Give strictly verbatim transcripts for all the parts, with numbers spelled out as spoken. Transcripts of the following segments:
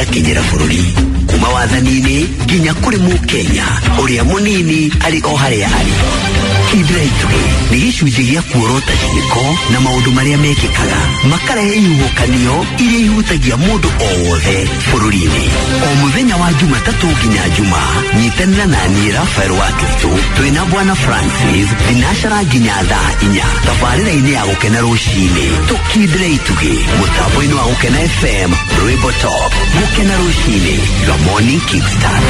Ĩgakinyĩra bũrũri kuma wathani-inĩ nginya kũrĩ Mũkenya ũrĩa mũnini arĩ o harĩa arĩ. Kindĩra Itugĩ nĩ gĩcunjĩ gĩa kuorota ciĩko na maũndũ marĩa mekĩkaga makarehe ihuhũkanio iria ihutagia mũndũ o wothe bũrũri-inĩ. O mũthenya wa Jumatatũ nginya Juma, nyitanĩra na niĩ Rafael wa Kristo twĩna Bwana Francis thinacara nginya thaa inya tabarĩra-inĩ ya Gũkena Rũcinĩ. Tũkindĩre itugĩ mũtambo-inĩ wa Gũkena F M, Rwĩmbo Top. Gũkena Rũcinĩ, your morning kickstart.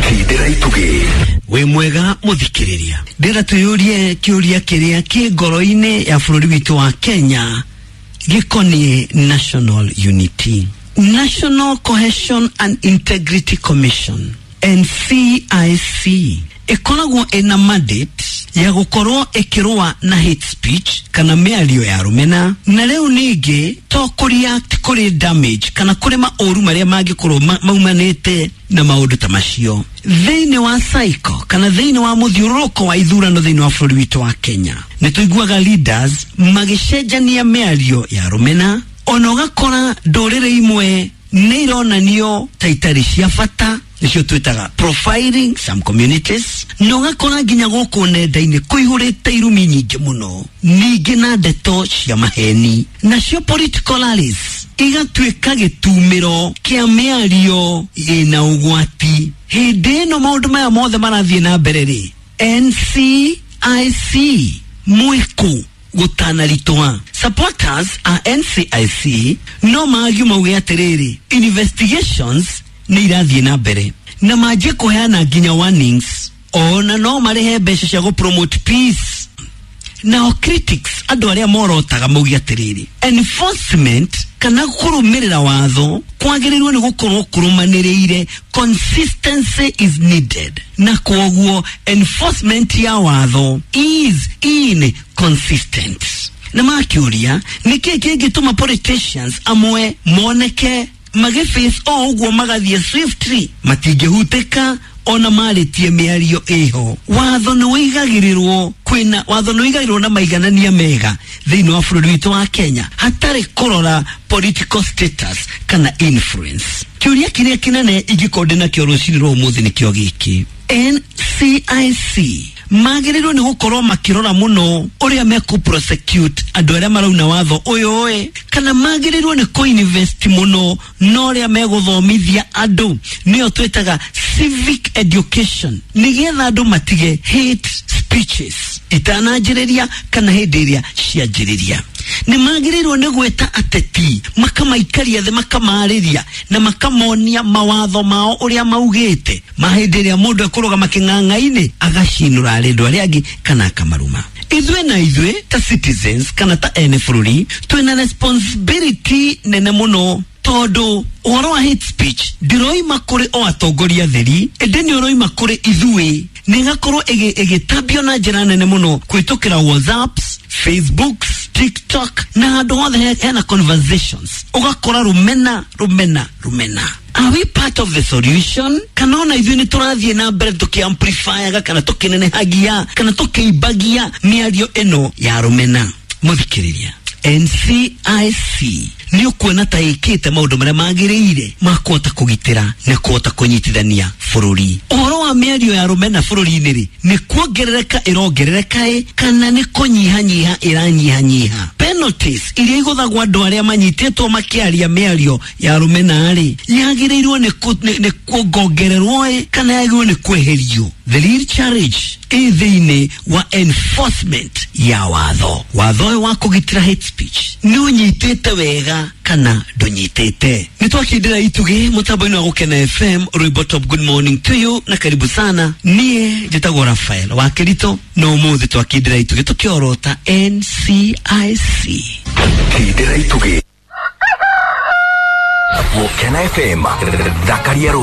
Kindĩra itugĩ. Wĩ mwega mũthikĩrĩria, ndĩra twĩyũrie kĩũria kĩrĩa kĩ ngoro-inĩ ya bũrũri witũ wa Kenya gĩkoniĩ national unity. National Cohesion and Integrity Commission, N C I C, ĩkoragwo ĩna mandate ya gũkorwo ĩkĩrũa na hate speech kana mĩario ya rũmena, na rĩu ningĩ to kũreact kũrĩ damage kana kũrĩ maũru marĩa mangĩkorwo ma- maumanĩte na maũndũ ta macio thĩinĩ wa cycle kana thĩinĩ wa mũthiũrũrũko wa ithurano thĩinĩ wa bũrũri witũ wa Kenya. Nĩ tũiguaga leaders magĩcenjania mĩario ya rũmena, ona ũgakora ndũrĩrĩ imwe nĩ ironanio ta itarĩ cia bata, nĩcio twĩtaga profiling some communities, na ũgakora nginya gũkũ nenda-inĩ kũihũrĩte irumi nyingĩ mũno, ningĩ na ndeto cia maheni, nacio political rallies igatuĩka gĩtumĩro kĩa mĩario ĩna ũgwati. Hĩndĩ ĩno maũndũ maya mothe marathiĩ na mbere rĩ, N C I C mwĩkũ gũtanaritũha? Supporters a N C I C no magiu mauge atĩrĩrĩ, investigations nĩ irathiĩ na mbere na manjie kũheana nginya warnings, ona no marĩhe mbeca cia gũpromote peace. Nao critics, andũ arĩa morotaga, mauge atĩrĩrĩ, enforcement kana kũrũmĩrĩra watho kwagĩrĩirwo nĩ gũkorwo kũrũmanĩrĩire, consistency is needed, na kwoguo enforcement ya watho is inconsistent. Na makĩũria nĩkĩ kĩngĩtũma politicians amwe moneke magĩface o ũguo magathiĩ swiftly, matingĩhutĩka ona marĩtie mĩario ĩho. Watho nĩ wĩigagĩrĩrwo, kwĩna watho nĩ wĩigagĩrĩrwo na maiganania mega thĩinĩ wa bũrũri witũ wa Kenya hatarĩ kũrora political status kana influence. Kĩũria kĩrĩa kĩnene ingĩkorwo ndĩ nakĩo rũcinĩ rwa ũmũthĩ nĩkĩo gĩkĩ: N C I C magĩrĩirwo nĩ gũkorwo makĩrora mũno ũrĩa mekũ prosecute andũ arĩa marauna watho ũyũ ĩ, kana magĩrĩirwo nĩ kũinvest mũno na ũrĩa megũthomithia andũ, nĩyo twĩtaga civic education, nĩgetha andũ matige hate speeches itananjĩrĩria kana hĩndĩ ĩrĩa cianjĩrĩria. Nĩ magĩrĩirwo nĩ gwĩta ateti, makamaikaria thĩ, makamarĩria na makamonia mawatho mao ũrĩa maugĩte ma hĩndĩ ĩrĩa mũndũ ekũrũgama kĩng'ang'a-inĩ agacinũra andũ arĩa angĩ kana akamaruma. Ithuĩ na ithuĩ ta citizens kana ta ene bũrũri twĩna responsibility nene mũno, tondũ ũhoro wa hate speech ndĩroima kũrĩ o atongoria theri, ĩndĩ nĩ ũroima kũrĩ ithuĩ, nĩ ĩgakorwo ĩgĩtambio na njĩra nene mũno kũhĩtũkĩra WhatsApps, Facebooks, TikTok na handũ hothe hena conversations, ũgakora rũmena, rũmena, rũmena. Are we part of the solution, kana ona ithuĩ nĩ tũrathiĩ na mbere tũkĩamplifyaga kana tũkĩnenehagia kana tũkĩimbagia mĩario ĩno ya rũmena? Mũthikĩrĩria, N C I C nĩ ũkuona ta ĩkĩte maũndũ marĩa magĩrĩire ma kũhota kũgitĩra na kũhota kũnyitithania bũrũri? Ũhoro wa mĩario ya rũmena bũrũri-inĩ rĩ, nĩ kuongerereka ĩrongerereka ĩ, kana nĩ kũnyihanyiha ĩranyihanyiha? Penalties iria igũthagwo andũ arĩa manyitĩtwo makĩaria mĩario ya rũmena rĩ, yagĩrĩirwo nĩ nĩ kuongongererwo ĩ, kana yagĩrĩirwo nĩ kweherio? The real challenge ĩ thĩinĩ wa enforcement ya watho. Watho ũyũ wa kũgitĩra hate speech nĩ ũnyitĩte wega kana ndũnyitĩte? Nĩ twakindĩra itugĩ mũtambo-inĩ wa Gũkena F M, Rwĩmbo Top. Good morning to you na karibu sana. Niĩ njĩtagwo Rafael wa Kĩrito, na ũmũthĩ twakindĩra itugĩ tũkĩorota N C I C. Kindĩra itugĩ, Gũkena F M, thakaria rũcinĩ.